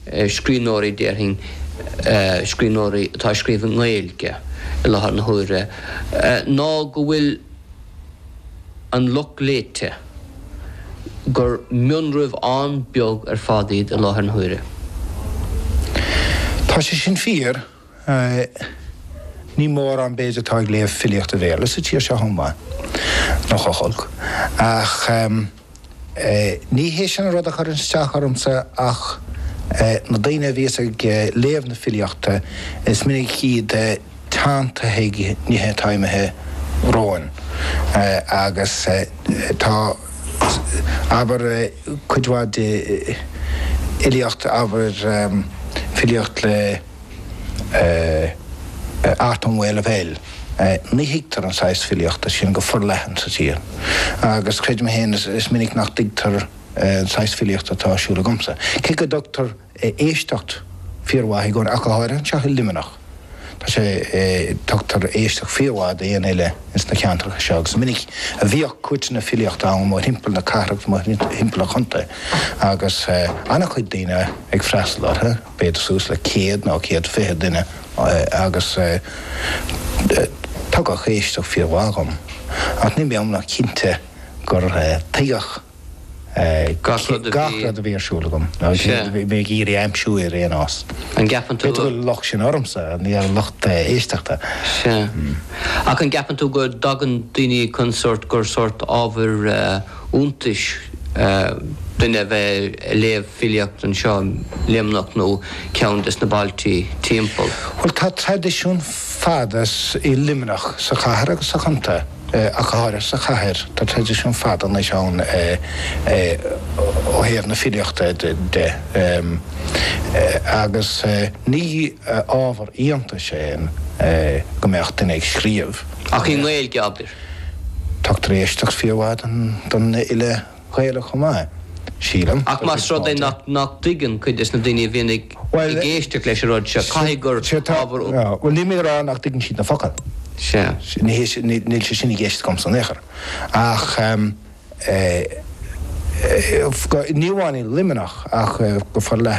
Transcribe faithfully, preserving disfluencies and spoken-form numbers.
scríbhneoirí, déarfainn, scríbhneoirí atá ag scríobh i nGaeilge i láthair na huaire, ná go bhfuil an lucht léite, gur mionraibh an-bheag ar fad iad i láthair na huaire. Tá sé sin fíor. Ní mórán b'fhéidir atá ag léamh filíochta Bhéarla sa tír seo chomh maith, nó chomh holc. Ach ní hé sin an rud a chuireann isteach ormsa ach na daoine a bhíos ag léamh na filíochta, is minic iad teanntaithe ag nithe atá imithe romhainn agus tá, abair, cuid mhaith de fhilíocht, abair, filíocht le. Art Ó Maolfabhail. Ní thuigtear an saghas filíochta sin go forleathan sa tír agus creidim féin is minic nach dtuigtear an saghas filíochta atá ar siúl agamsa. Cé go dtugtar éisteacht fíormhaith i gcónaí, ach go háirithe anseo i Luimneach, tá sé, tugtar éisteacht fíormhaith d'aon fhile ins na ceantracha seo agus is minic a bhíodh cúirteanna filíochta ann mórthimpeall na cathrach, mórthimpeall an chontae agus an-chuid daoine ag freastal orthu. b'fhéidir suas le céad nó céad fiche duine agus tugadh éisteacht fíormhaith dhom. Ach níl mé iomlán cinnte gur tuigeadh gach rud a bhí ar siúl agam, nó a bhí mé ag iarraidh a aimsiú ar aon nós. An gceapann tú. B'fhéidir go bhfuil an locht sin ormsa, ní ar an lucht éisteachta. Sea. Ach an gceapann tú go dtagann daoine chun sórt, gur sórt ábhar iontais duine a bheith ag léamh filíocht anseo i Luimneach nó ceann des na bailtí timpeall. Bhuel, tá traidisiún fada i Luimneach, sa chathair agus sa chontae, ach go háirithe sa chathair, tá traidisiún fada anois ann ó thaobh na filíochta de agus ní ábhar iontais é go mbeadh duine ag scríobh. Ach i nGaeilge, abair. Tugtar éisteacht fíormhaith don fhile Gaelach chomh maith, sílim. Ach más rud é nach dtuigeann cuid des na daoine a bhíonn ag éisteacht leis an rud seo, caithfidh gur ábhar. Bhuel, níl mé ag rá nach dtuigeann siad na focail. Sea. Níl sé sin i gceist agamsa in aon chor. Ach ní amháin i Luimneach ach go forleathan.